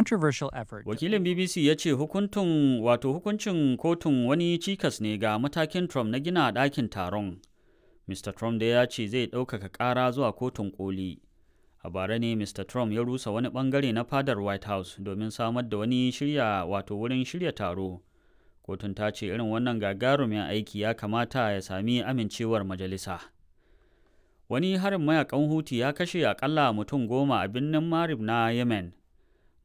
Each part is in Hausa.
Controversial effort. Wakilin BBC ya ce hukuntun wato hukuncin kotun wani cikas ne ga matakin Trump na gina ɗakin taron. Mr. Trump da ya ce zai ɗaukaka ƙara zuwa kotun koli. A bara ne Mr. Trump ya rusa wani ɓangare na fadar White House domin samar da wani shirya wato wurin shirya taro. Kotun ta ce irin wannan gagarumin aiki ya kamata ya sami amincewar majalisa. Wani harin mayakan Huti ya kashe akalla mutum 10 a birnin Marib na Yemen.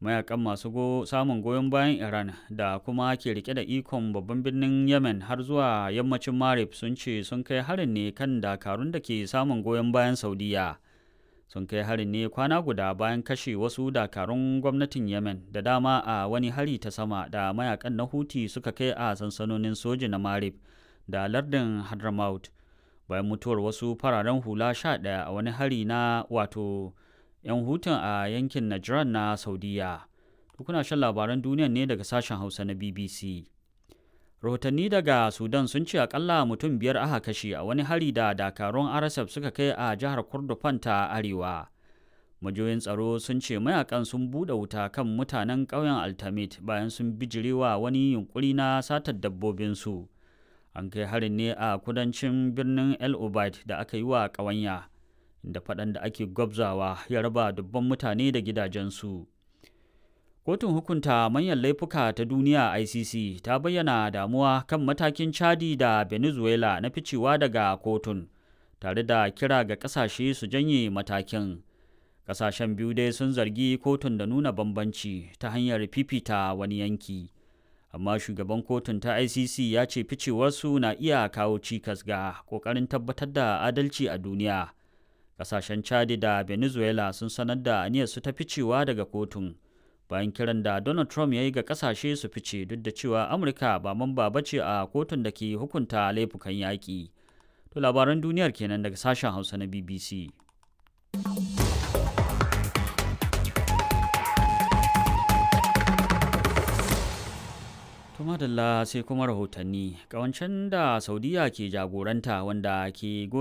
Mayakan masu samun goyon bayan Iran da kuma ke rike da ikon babban birnin Yemen har zuwa yammacin Marib sun ce sun kai harin ne kan dakarun da ke samun goyon bayan Saudiya. Sun kai harin ne kwana guda bayan kashe wasu dakarun gwamnatin Yemen da dama a wani hari ta sama da mayakan na Huti suka kai a sansanonin soji na Marib da lardin Hadramaut. Bayan mutuwar wasu fararen hula 11 a wani hari na wato 'yan hutun a yankin Najran na Saudiya. Kuna shan labaran duniyan ne daga sashen Hausa na BBC. Rahotanni daga Sudan sun ce akalla mutum 5 aka kashe a wani hari da dakarun RSF suka kai a jihar Kordofan ta Arewa. Majiyoyin tsaro sun ce mayakan sun buɗe wuta kan mutanen ƙauyen Altamit bayan sun bijirewa wani yunkuri na satar dabbobinsu. An kai harin ne a kudancin birnin El Obeid da aka yi wa ƙawanya, da faɗan da ake gwabzawa ya raba dubban mutane da gidajensu. Kotun hukunta manyan laifuka ta duniya ICC ta bayyana damuwa kan matakin Chadi da Venezuela na ficewa daga kotun, tare da kira ga ƙasashe su janye matakin. Ƙasashen biyu dai sun zargi kotun da nuna bambanci ta hanyar fifita wani yanki. Amma shugaban kotun ta ICC ya ce ficewarsu na iya kawo cikas ga ƙoƙarin tabbatar da adalci a duniya. Kasashen Chadi da Venezuela sun sanar da aniyarsu ta ficewa daga kotun bayan kiran da Donald Trump ya yi ga kasashe su fice duk da cewa Amurka ba mamba ba ce a kotun da ke hukunta laifukan yaƙi. To labaran duniyar kenan daga sashen Hausa na BBC. To madalla sai kuma rahotanni, ƙawancen da Saudiya ke jagoranta wanda ke goyon